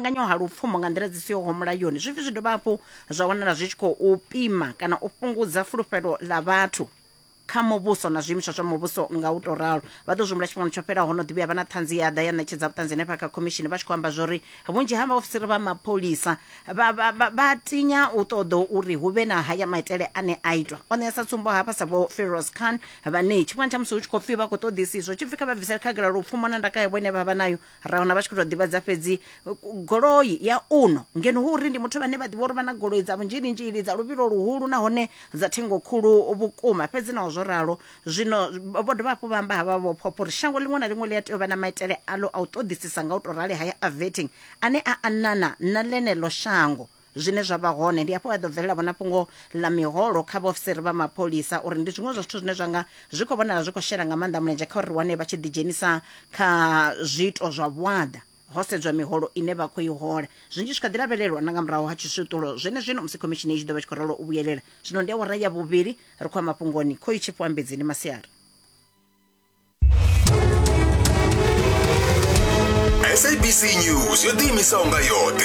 anganywa ha lupfumo nga nḓila dzi siho mulayoni zwi pfi zwi dovha hafhu zwa wanala zwi tshi khou pima kana u fhungudza fulufhelo ḽa vhathu kha muvhuso na zwiimiswa zwa muvhuso nga u tou ralo. Vha ḓo zwi humbula tshifhingani tsho fhelaho ho no ḓi vhuya vha na ṱhanzi ya ḓa ya ṋetshedza vhuṱanzi henefha kha khomishini vha tshi khou amba zwori vhunzhi ha vhaofisiri vha mapholisa vha, vha, vha, vha tinya u ṱoḓa uri hu vhe na haya maitele ane a itwa. O ṋea sa tsumbo hafha sa vho Firoz Khan vhane tshifhingani tsha musi hu tshi khou pfi vha khou ṱoḓisiswa tshi pfi kha vha bvisele khagala lupfumo na ndaka yavho ine vha vha nayo ra wana vha tshi khou tou ḓivhadza fhedzi goloi ya uno ngeno hu uri ndi muthu vhane vha ḓivha uri vha na goloi dza vhunzhilinzhili dza luvhilo luhulu nahone dza thengo khulu vhukuma fhedzi naho zwo ralo zwino vho dovha hafhu vha amba havha vho phopho uri shango ḽiṅwe na ḽiṅwe ḽi a tea u vha na maitele alo a u ṱoḓisisa nga u tou rali haya a vetting ane a anana na ḽeneḽo shango Zwine zwa vha hone ndi hafho ha ḓo bvelela vhona fhungo ḽa miholo kha vhaofisiri vha mapholisa uri ndi zwiṅwe zwa zwithu zwine zwa nga zwi khou vhonala zwi khou shela nga maanḓa mulenzhe kha uri ri wane vha tshi ḓidzhenisa kha zwiito zwa vhuaḓa ho sedzwa miholo ine vha khou i hola. Zwinzhi zwi kha ḓi lavhelelwa na nga murahu ha tshiswiṱulo zwenezwino musi khomishini i tshi ḓo vha tshi khou ralo u vhuyelela. Zwino ndi awara ya vhuvhili ri khou ya mafhungoni khoyu tshifhiwa Mbedzi ndi masiari. SABC News yo ḓiimisaho nga yoṱhe.